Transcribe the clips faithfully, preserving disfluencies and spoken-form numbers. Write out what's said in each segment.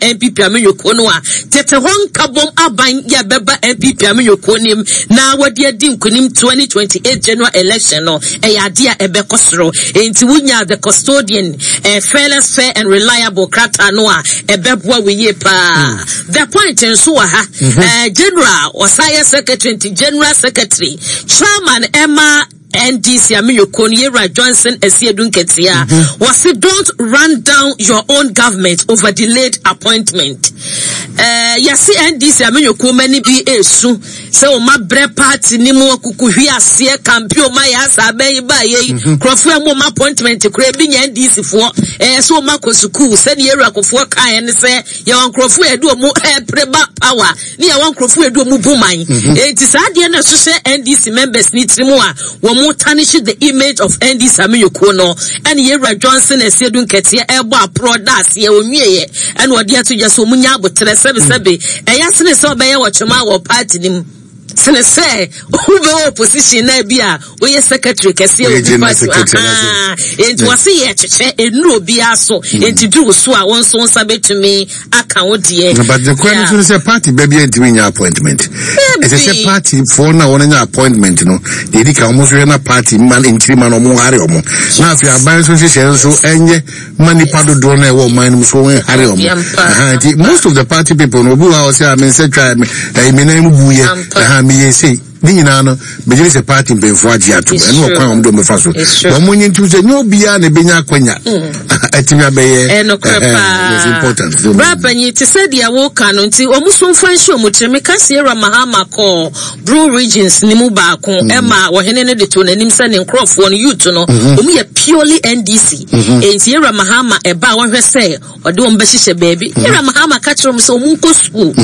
N P P amanyɔkuo no a tete hɔ nkabom aban yɛ bɛba N P P amanyɔkuo nim na wɔde adi nkonim twenty twenty-eight general election no, ɛyɛ adeɛ a ɛbɛkɔ soro. Nti wonya the custodian eh, fearless, fair and reliable krataa no a, ɛbɛboa wo yie paa. The Point nso wɔ ha. eh, general ɔsan secretary, nti general secretary chairman ɛma N D C amanyɔkuo no, yɛwura Johnson Asiedu Nketea, wɔsi, "Don't run down your own government over delayed appointment." ɛɛ yɛsi N D C amanyɔkuo mani bi esu sɛ wɔn abrɛ party ne mu akuku hwi aseɛ campaign, wɔn ayɛ asa abɛn yi ba yɛ yi, nkurɔfoɔ a wɔn appointment kura ebi nyɛ N D C foɔ. Ɛɛ sɛ wɔn akɔ sukuu sɛdeɛ yɛwura Kofoɔ kan yɛ ne sɛ yɛwɔ nkurɔfoɔ a yɛde wɔn ɛɛpere ba power ne yɛwɔ nkurɔfoɔ a yɛde wɔn bu man. Eti saa adeɛ no ɛhyehyɛ N D C members ne tiri mu a wɔn tarnish the image of N D C amanyɔkuo no, ɛne yɛwura Johnson Asiedu Nketeɛ ɛbɔ aporɔ da aseɛ onwieɛ, ɛna ɔde ato dwa sɛ wɔn nya abotrɛ. Sɛbisɛbi, ɛyɛ sene sɛ ɔbɛyɛ wɔtwema wɔ party ne mu sene sɛ wobɛwɔ opposition na bi a woyɛ secretary kɛseɛ Woyɛ wɔ bi general party. secretary. Aha. Enti wɔse yɛ kyekyɛ ɛnuru obiara so, enti duru so a wɔn nso nsa bɛtumi aka wo deɛ. But the kwan nso ne sɛ party baabi a ntumi nya appointment, ɛsɛ sɛ party foɔ no a wɔn nya appointment no deɛ, edi kan wɔn nso hwɛ na party mma nkyiri ma no wɔn hare wɔn, na afei aban nso nhyehyɛ nso ɛnyɛ ma nipa dodoɔ no a ɛwɔ ɔman no mu so wɔn hare wɔn. Yɛmpa. Aha, nti most of the party people no, obi wɔ ha ɔsɛ a me nsa twa me ɛyi me nan mu bu yɛ. Ampa. Ɛha me yɛ sei ne nyinaa no, megye sɛ party mpanyinfoɔ agye ato. It's ɛno true. ɔkwan a wɔn de wɔn bɛfa so. It's true. Wɔn mo nye ntum sɛ nye obiara na ebenya akwanya ɛtumi abɛyɛ. Ɛnokorɛ ɛhɛn, paa. It's important. So, Bra panyin, te sɛ deɛ woka no nti ɔmo so mfa nhyɛ ɔmo tirim. Meka Sierra Mahama kɔɔ Bono regions ne mu baako, ɛma wɔhene no de to n'anim sɛ ne nkurɔfoɔ no, youth no, ɔmo yɛ purely N D C. Enti Yɛwura Mahama ɛba a, wɔhwɛ sɛ ɔde wɔn bɛhyehyɛ baabi. Yɛwura Mahama ka kyerɛ wɔn sɛ ɔmo nkɔ school.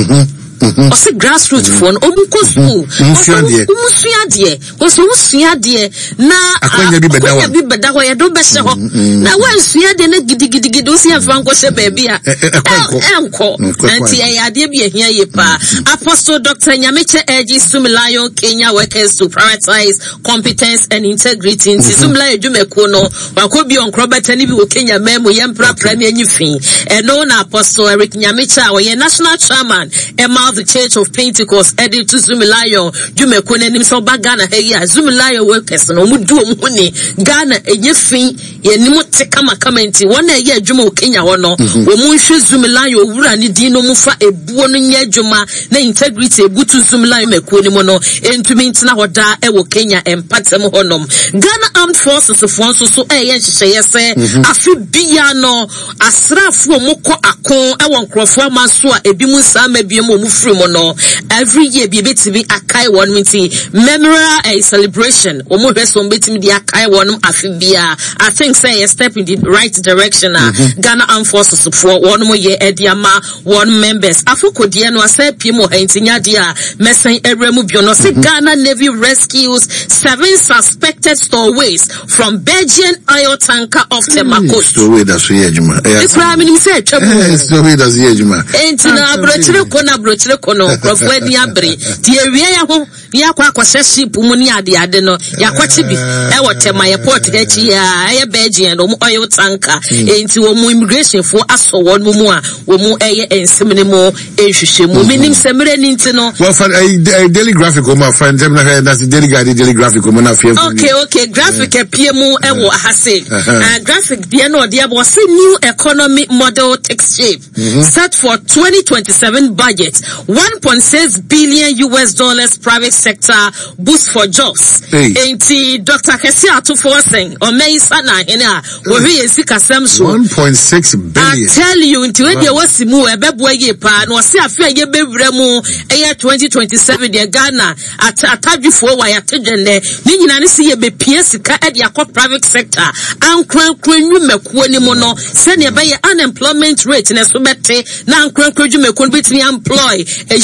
Ɔsɛ grassroots foɔ no, ɔmo nkɔ school. Ɔmo nsua adeɛ. Ɔmo sua adeɛ, wɔsɛ ɔmo sua adeɛ na Akwanya bi bɛda hɔ. Akwanya bi bɛda hɔ, yɛde wo bɛhyɛ hɔ. Na wɔnsua adeɛ no gidigidigidi, wosi yɛmfa nkɔhyɛ baabi a Ɛ- ɛ- ɛkɔ nkɔ. ɛnkɔ. Nkɔ Nti kwan. ɛyɛ adeɛ bi ahia yie paa. Apostle Doctor Nyamekyɛ urges Zoomlion Kenya workers to prioritize competence and integrity. Nti Zoomlion adwumakuo no wakɔ bi ɔnkorɔ bɛtɛ ne bi wɔ Kenya man mu, yɛmprapra ne anyi fi. Ɛno na Apostle Eric Nyamekyɛ a ɔyɛ national chairman ɛma the Church of Pentecost ɛde to Zoomlion dwumakuo no anim sɛ ɔba Ghana ha yi a, Zoomlion workers no ɔmo du ɔmo ho ni Ghana ɛnyɛ fi, yɛnim te kamakama. Nti wɔn a ɛyɛ adwuma wɔ Kenya hɔ no, wɔn mu nhwɛ Zoomlion owura ne din no mu fa ebuo no nyɛ adwuma na integrity ebutu Zoomlion makuo no mu no ntumi ntena hɔ daa ɛwɔ Kenya mpatam hɔnom. Ghana Armed Forces foɔ nso so ɛyɛ nhyehyɛeɛ sɛ afe bia no, asraafoɔ a wɔkɔ ako ɛwɔ nkurɔfoɔ ama so a ebi mu nsa ama bi mu a wɔn firi mu no, every year bi ebetumi akae wɔn. Nti memorial eh, celebration, wɔn hwɛ so wɔn betumi de akae wɔn afe bia. I think sɛ ɛyɛ step in the right direction a Ghana Armed Forces foɔ wɔn mo yɛ ɛde ama wɔn members. Afokodeɛ no asɛ pie mu wɔ ha, nti nyadeɛ a mɛsɛn ɛwura mu bio no sɛ Ghana Navy rescues seven suspected stowaways from Belgian oil tanker off Tema coast. Stowaway da so yɛ adwuma. Ɛyɛ Ekura minim sɛ atwa mu. Eh, stowaway da so yɛ adwuma. Enti na aburokyire ko na aburokyire ko no, nkurɔfoɔ ani abere nti yɛwie yɛ ho ne yɛakɔ akɔhyɛ ship mu ne adeade no, yɛakɔkye bi ɛwɔ Tema yɛ port akyi a ɛyɛ Belgian wɔn oil tanker. Enti wɔn mu immigration foɔ asɔ wɔn mu a wɔn mu ɛyɛ nsɛm no mu nhwehwɛ mu. Menim sɛ mmerɛ ni nti no. Well, fa ɛyi Daily Graphic wɔn afa ntɛm na hwɛ na Daily Guide, Daily Graphic wɔn na afei. okay okay Graphic apie mu ɛwɔ ha se uh, Graphic deɛ no ɔde abɔ, ɔse new economy model takes shape, set for twenty twenty-seven budget, one point six billion U S dollars private sector boost for jobs. Hey. Enti Doctor Kɛse Atofo Ɔsɛn ɔmɛyisa na ahene a wɔhwɛ yɛn sikasɛm so. One point six I billion. tell you, nti wei deɛ wɔsi mu ɛbɛboa yie paa na ɔsi afe a yɛbɛwura mu ɛyɛ twenty twenty-seven deɛ, Ghana at atadwifoɔ wɔ ayate dwɛnɛ ne nyinaa ne si yɛbɛpia sika ɛde akɔ private sector ankorankora nnwumakuo ne mu no, sɛnea ɛbɛyɛ unemployment rate ne so bɛte na ankorankora dwumakuo no bɛtumi employ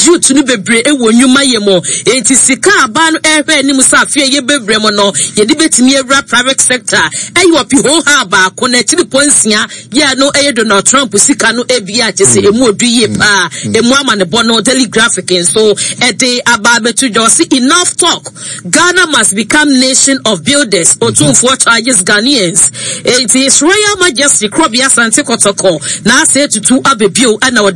youth no bebree ɛwɔ nnwuma yɛ mu. Enti sika aba no ɛhwɛ anim sɛ afe a yɛbɛwura mu no, yɛde bɛtumi awura private sector ɛyɛ ɔpeho ha baako na akyiri pɔ nsia yɛ no ɛyɛ Donald Trump sika no ebi a kyɛ sɛ emu odu yie paa. Emu ama ne bɔ no, Daily Graphic nso ɛde aba abɛto dwa. Ɔsi, "Enough talk, Ghana must become nation of builders," Otumfoɔ charges Ghanaians. Eti His Royal Majesty Krobea Asante Kɔtɔkɔ na asɛ etutu abɛbio ɛna ɔde